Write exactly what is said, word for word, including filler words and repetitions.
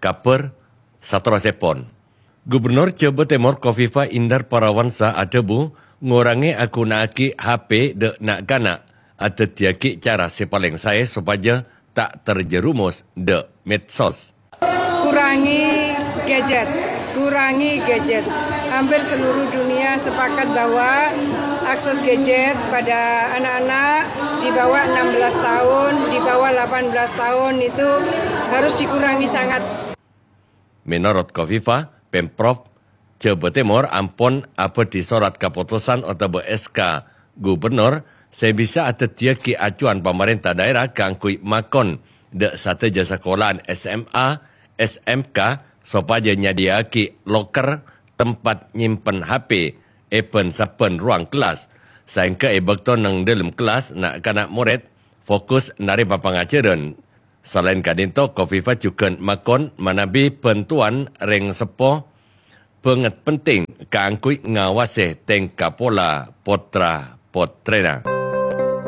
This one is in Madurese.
Kabhâr saterrossèpon. Gubernur Jhâbâ Tèmor Khofifah Indar Parawansa adhâbu, ngorangè aghuna'aghi H P ḍâ' na'-kana' adhâddhiyâghi cara sè palèng saè sopajâ ta' terjerumus ḍâ' medsos. Kurangi gadget, kurangi gadget. Hampir seluruh dunia sepakat bahwa akses gadget pada anak-anak di bawah enam belas tahun, di bawah delapan belas tahun itu harus dikurangi sangat. Mènorot Khofifah, Pemprov Jhâbâ Tèmor ampon abâḍhi sorat kapotosan otabâ S K Gubernur sè bisa adhâddhiyâghi acuan pamarènta dhaèra kaangghuy makon ḍâ' sadhâjâ sakolaan S M A, S M K sopajâ nyadhiyâaghi loker tempat nyimpen H P è bân-sabbhân ruang kellas, saèngghâ è bâkto neng ḍâlem kellas na'-kana' morèd fokus narèma pangajhârân. Salaèn ka'ḍinto, Khofifah jhughân makon manabi bhântowan rèng seppo bângèt penting kaangghuy ngawasè tèngka pola potra-potrèna.